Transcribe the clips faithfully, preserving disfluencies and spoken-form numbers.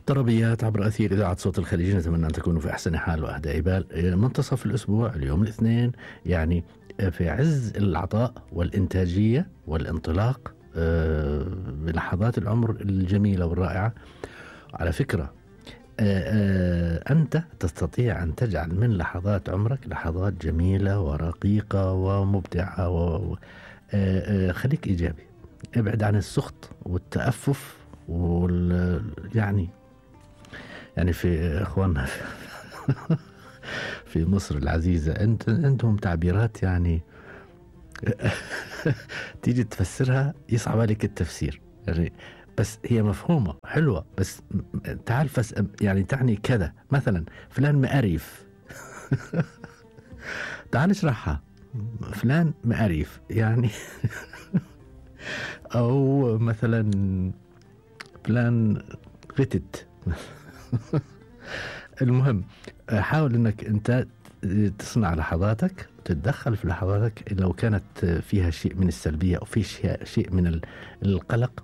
طربيات عبر أثير إذاعة صوت الخليج، نتمنى أن تكونوا في أحسن حال وأهدى بال. منتصف الأسبوع اليوم الاثنين، يعني في عز العطاء والإنتاجية والانطلاق بلحظات العمر الجميلة والرائعة. على فكرة أنت تستطيع أن تجعل من لحظات عمرك لحظات جميلة ورقيقة ومبدعة و... خليك إيجابي، ابعد عن السخط والتأفف وال... يعني يعني في إخواننا في مصر العزيزة أنت عندهم تعبيرات يعني تيجي تفسرها يصعب عليك التفسير، يعني بس هي مفهومة حلوة، بس تعال فس يعني تعني كذا، مثلا فلان مقريف تعال اشرحها، فلان مقريف يعني أو مثلا فلان غتت المهم حاول انك انت تصنع لحظاتك، تتدخل في لحظاتك لو كانت فيها شيء من السلبية او في شيء شيء من القلق،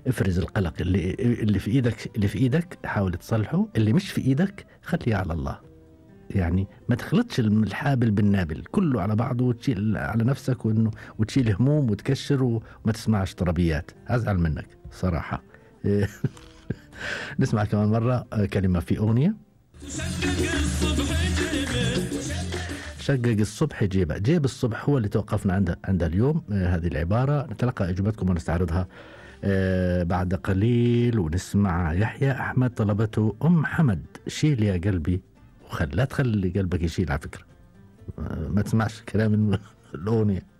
افرز القلق اللي اللي في ايدك اللي في ايدك حاول تصلحه، اللي مش في ايدك خليه على الله. يعني ما تخلطش الحابل بالنابل كله على بعضه وتشيل على نفسك وانه وتشيل هموم وتكشر وما تسمعش طربيات، ازعل منك صراحة. نسمع كمان مرة كلمة في أغنية. شقق الصبح جيبه، جيب الصبح هو اللي توقفنا عنده عند اليوم. آه هذه العبارة نتلقى إجابتكم ونستعرضها آه بعد قليل، ونسمع يحيى أحمد طلبته أم حمد شيل يا قلبي، وخل لا تخلي قلبك يشيل على فكرة، آه ما تسمعش كلام الأغنية.